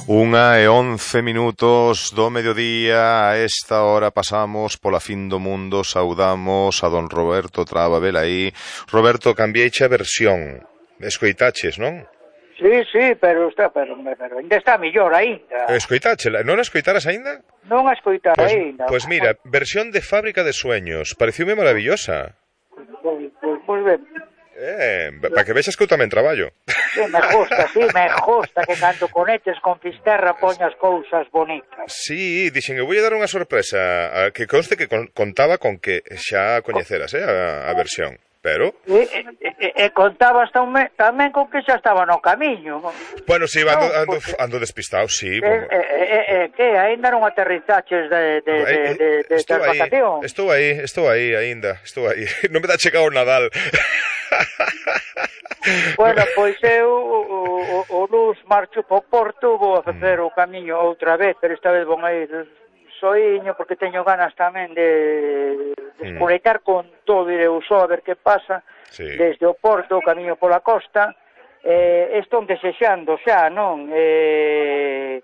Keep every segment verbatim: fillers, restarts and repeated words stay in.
Unha e once minutos do mediodía. A esta hora pasamos pola fin do mundo. Saudamos a don Roberto Traba Velaí. Roberto, cambieiche a versión. Escoitaches, non? Sí, sí, pero está, pero, pero ainda está mellor aínda. Escoitáchela, non a escoitaras aínda? Non a escoitar pues, aínda. Pois pues mira, versión de Fábrica de Sueños. Pareciume maravillosa. Pois pues, pues, ben. Eh, para que vexas que eu tamén traballo. Sí, me gusta, sí, me gusta que cando conectes con Fisterra poñas cousas bonitas. Sí, dixen, eu voulle dar unha sorpresa, que conste que con, contaba con que xa coñeceras, eh, a, a versión, pero... E, e, e, e contabas tamén, tamén con que xa estaba no camiño. Bueno, si, sí, ando, no, ando, porque... ando despistado, sí. E, e, e, e, que, ainda non aterrizaches de, de, de, de, de, de vacación? Estou aí, estou aí, ainda, estou aí. Non me dá chegado o Nadal. Bueno, pois eu o, o, o Luz marcho po Porto, vou a facer mm. o camiño outra vez, pero esta vez vou a ir soiño porque teño ganas tamén de, de espoleitar mm. con todo, ireu só a ver que pasa, sí. Desde o Porto, o camiño pola costa, eh, estou desexando xa, non? Eh...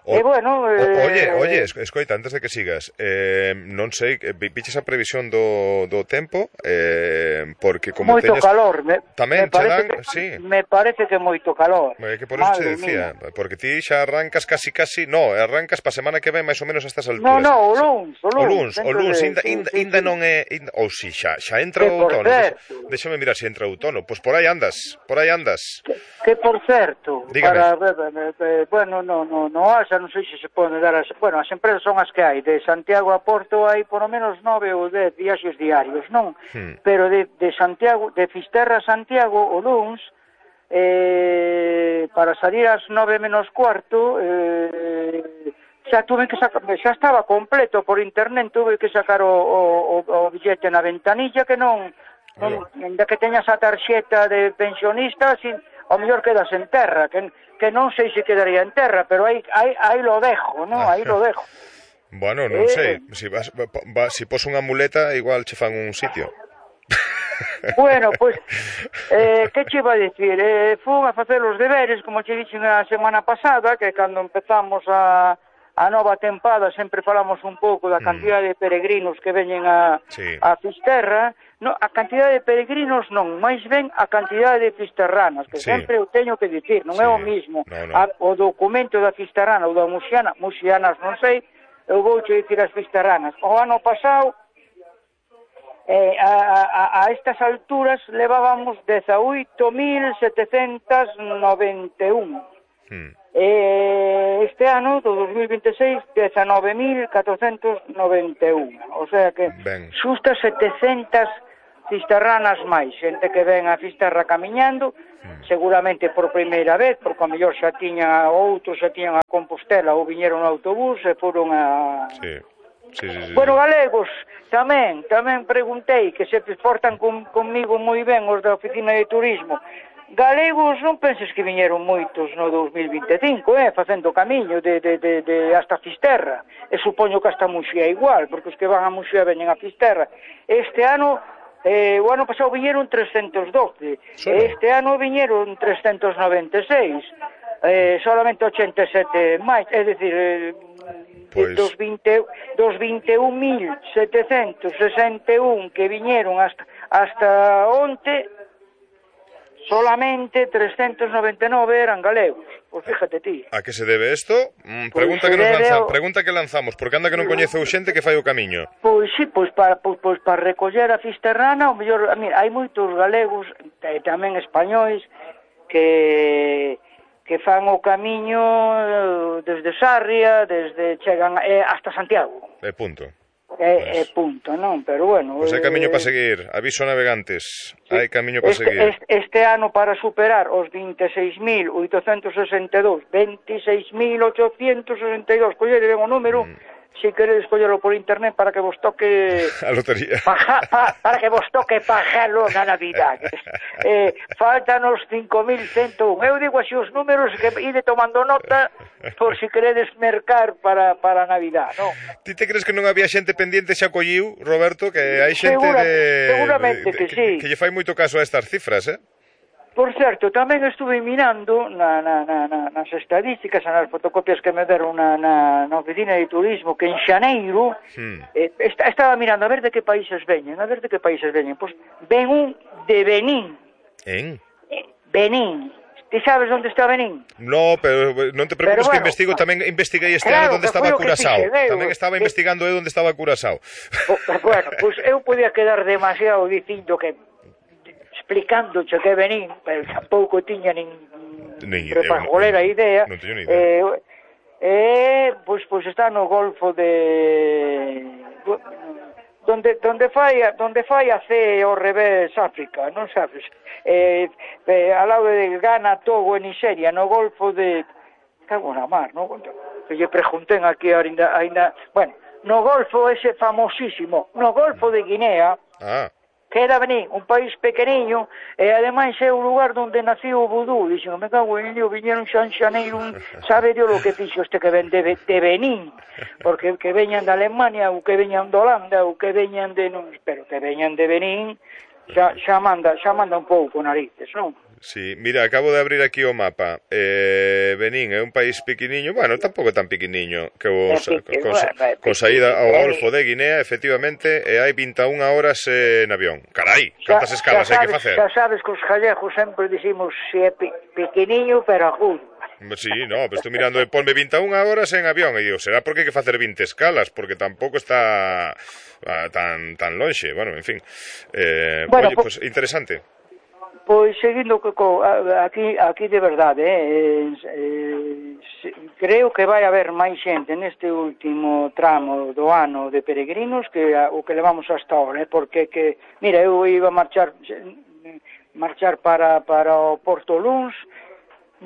O, e bueno, eh... o, oye, oye, escoita, antes de que sigas, eh, non sei, viches a previsión do, do tempo, eh, porque como moito teñes... calor, me, tamén me parece dan, que, sí. me parece que moito calor. É que por eso te decía, mía. Porque ti xa arrancas casi casi, no, arrancas pa semana que ven máis ou menos a estas alturas. No, no, o luns, o luns. O luns, o luns, inda, sí, inda, sí, inda sí. non é, inda, ou si xa, xa entra o outono. Déxame mirar se entra o outono, pois por aí andas, por aí andas. Que, que por certo, dígame. Para, eh, bueno, no, no, no, asa, non sei se se pode dar as, bueno, as empresas son as que hai, de Santiago a Porto hai por lo menos nove ou dez viaxes diarios, non? Hmm. Pero de, de Santiago, de Fisterra a Santiago, o luns, eh, para salir ás nove menos cuarto, eh, xa tuve que sacar, xa estaba completo por internet, tuve que sacar o, o, o billete na ventanilla que non, non ainda que teñas a tarxeta de pensionista, sin, ao mellor quedas en terra, que, que non sei se quedaría en terra, pero aí, aí, aí lo dejo, non? Aí lo dejo. Bueno, non eh, sei, si, vas, va, si pos unha muleta, igual che fan un sitio. Bueno, pois, pues, eh, que che iba a dicir? Eh, fun a facer os deberes, como che dixen a semana pasada, que cando empezamos a, a nova tempada sempre falamos un pouco da cantidad mm. de peregrinos que veñen a, sí. a Fisterra. No, a cantidade de peregrinos non, máis ben a cantidade de fisterranas, que sí. sempre eu teño que dicir, non sí. é o mismo. No, no. A, o documento da fisterrana ou da muxiana, muxianas non sei, eu vou che dicir as fisterranas. O ano pasado, eh, a, a, a estas alturas levábamos dezaoito mil setecentos noventa e un. Hmm. Eh, este ano, do dos mil vinte e seis, dezanove mil catrocentos noventa e un. O sea que ben. Xusta setecentas fisterranas máis, xente que ven a Fisterra camiñando, hmm. seguramente por primeira vez, porque a mellor xa tiña outros, xa tiñan a Compostela ou viñeron no autobús e foron a... Sí. Sí, sí, sí. Bueno, galegos, tamén, tamén preguntei, que se portan con, conmigo moi ben os da oficina de turismo. Galegos non penses que viñeron moitos no dos mil vinte e cinco, eh, facendo camiño de, de, de, de hasta Fisterra, e supoño que hasta Muxía igual, porque os que van a Muxía veñen a Fisterra. Este ano, eh, o ano pasado viñeron trescentos doce, sí. Este ano viñeron trescentos noventa e seis, eh, solamente ochenta e sete máis, é dicir... Eh, Pues... dos, vinte, dos vinte e un mil setecentos sesenta e un que viñeron hasta, hasta onte, solamente trescentos noventa e nove eran galegos. Pois fíjate ti. A que se debe isto? Mm, pregunta, pues que nos lanza, o... pregunta que lanzamos, porque anda que non coñece o xente que fai o camiño. Pois sí, pois para, pois, pois para recoller a fisterrana, o mellor, mira, hai moitos galegos, e tamén españois, que... que fan o camiño desde Sarria, desde chegan eh, hasta Santiago. É punto. É, pues... é punto, non? Pero bueno... Pois pues hai camiño eh... para seguir, aviso navegantes, sí. Hai camiño para este, seguir. Este, este ano para superar os vinte e seis mil oitocentos sesenta e dous, vinte e seis mil oitocentos sesenta e dous, collede ben o número... Mm. Si queredes collerlo por internet para que vos toque a lotería, paja, pa, para que vos toque pajalo na Navidade. eh, faltan os cinco mil ciento un. Eu digo así os números que ide tomando nota por si queredes mercar para, para Navidad, non? Ti te crees que non había xente pendiente xa colliu, Roberto, que hai xente Segura, de... Seguramente de, que, que sí. Que lle fai moito caso a estas cifras, eh? Por certo, tamén estuve mirando na, na, na, na, nas estadísticas, nas fotocopias que me deron na, na, na oficina de turismo, que en xaneiro hmm. eh, est estaba mirando a ver de que países veñen, a ver de que países veñen. Pois ven un de Benín. En? Eh, Benín. Ti sabes onde está Benín? No, pero non te preocupes, bueno, que investigo, tamén investiguei este claro, ano onde estaba Curaçao. Tamén estaba investigando eu onde estaba Curaçao. Bueno, pois eu podía quedar demasiado dicindo que explicándoche que Benín, pero tampouco tiña nin repajolera idea. Non teño ni idea. Eh, eh, pois, pois está no Golfo de... donde donde fai donde fai a C ao revés África, non sabes? Eh, eh, ao lado de Ghana, Togo e Nigeria, no Golfo de... Cago na mar, non? Que lle pregunten aquí ainda, ainda... Bueno, no Golfo ese famosísimo, no Golfo de Guinea... Ah. Que era Benín, un país pequeniño, e ademais é o lugar onde nació o vudú. Dixen, me cago en ello, viñeron San Xaneiro, sabe Dios lo que fixo este que ven de, de Benín, porque que veñan de Alemania, ou que veñan de Holanda, ou que veñan de... Non, pero que veñan de Benín, xa, xa, manda, xa manda un pouco narices, non? Sí, mira, acabo de abrir aquí o mapa. Eh, Benín é un país pequeniño, bueno, tampouco tan pequeniño, que vos, é pique, con, bueno, con saída ao Golfo de Guinea, efectivamente, e hai vinte e unha horas eh, en avión. Carai, cantas escalas hai que facer? Xa sabes que os gallegos sempre dicimos se é pequeniño, pero agudo. Sí, no, pero estou mirando, ponme vinte e unha horas en avión, e digo, será porque hai que facer vinte escalas, porque tampouco está uh, tan tan lonxe, bueno, en fin. Eh, bueno, oye, pues interesante. Pois seguindo co, aquí aquí de verdade, eh, eh, creo que vai haber máis xente neste último tramo do ano de peregrinos que a, o que levamos hasta ahora, eh, porque que, mira, eu iba a marchar marchar para para o Porto Luns,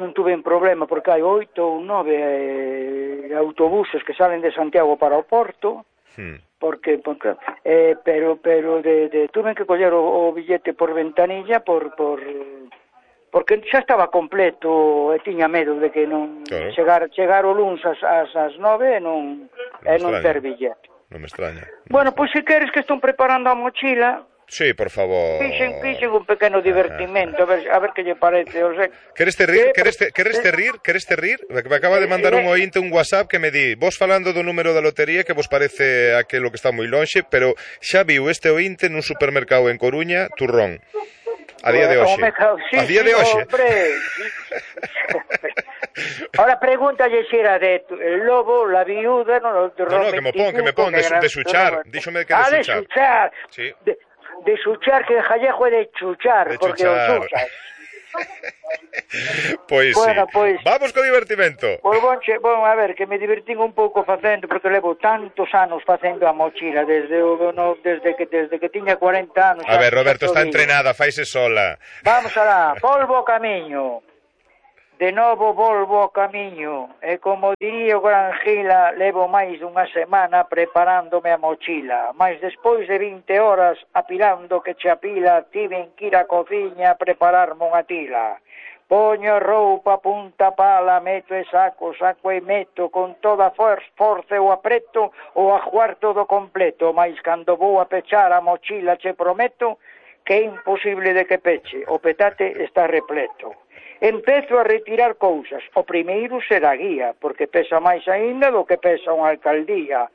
non tuve un problema porque hai oito ou nove eh, autobuses que salen de Santiago para o Porto. Hmm. Porque, porque eh, pero pero de, de tuve que coller o, o billete por ventanilla por por porque xa estaba completo e tiña medo de que non claro. chegar chegar o luns ás ás, ás nove e non non, e non ter billete. Non me extraña. Non bueno, me pois pues, se queres que estou preparando a mochila. Sí, por favor. Fixen, fixen un pequeno divertimento, a ver, a ver que lle parece. O sea, queres te rir? Queres te, queres te rir? Queres te rir? Me acaba de mandar un ointe un WhatsApp que me di, vos falando do número da lotería que vos parece aquilo que está moi lonxe, pero xa viu este ointe nun supermercado en Coruña, turrón. A día de hoxe. Sí, a día sí, de hoxe. Ahora pregúntalle se era de el lobo, la viuda, no, de no, no, que me pon, que me pon, de, de suchar. Díxome que de ah, suchar. de suchar. Sí. De, de suchar, que el jallejo é de chuchar, de porque chuchar. o chuchas. Pois bueno, sí. Pois, vamos co divertimento. Pois bon, che, bon, a ver, que me divertín un pouco facendo, porque levo tantos anos facendo a mochila, desde o no, desde que desde que tiña cuarenta anos. A ver, Roberto, está entrenada, faise sola. Vamos alá, polvo camiño. De novo volvo ao camiño, e como diría o gran Gila, levo máis dunha semana preparándome a mochila, mas despois de vinte horas apilando que che apila, tiven que ir á cociña a prepararme unha tila. Poño roupa, punta pala, meto e saco, saco e meto, con toda for forza o apreto, o ajuar todo completo, mas cando vou a pechar a mochila che prometo que é imposible de que peche, o petate está repleto. Empezo a retirar cousas. O primeiro será guía, porque pesa máis aínda do que pesa unha alcaldía.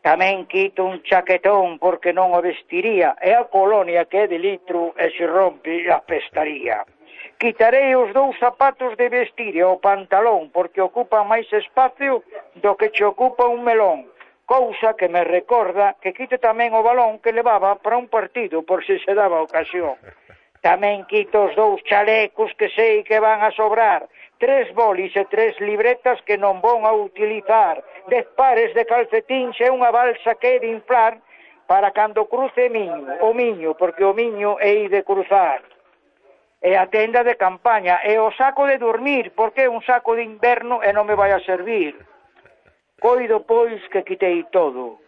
Tamén quito un chaquetón porque non o vestiría, e a colonia que é de litro e se rompe a pestaría. Quitarei os dous zapatos de vestir e o pantalón, porque ocupa máis espacio do que che ocupa un melón. Cousa que me recorda que quite tamén o balón que levaba para un partido, por se se daba ocasión. Tamén quito os dous chalecos que sei que van a sobrar, tres bolis e tres libretas que non vou a utilizar, dez pares de calcetíns e unha balsa que he de inflar para cando cruce miño, o miño, porque o miño é de cruzar. E a tenda de campaña, e o saco de dormir, porque é un saco de inverno e non me vai a servir. Coido, pois, que quitei todo.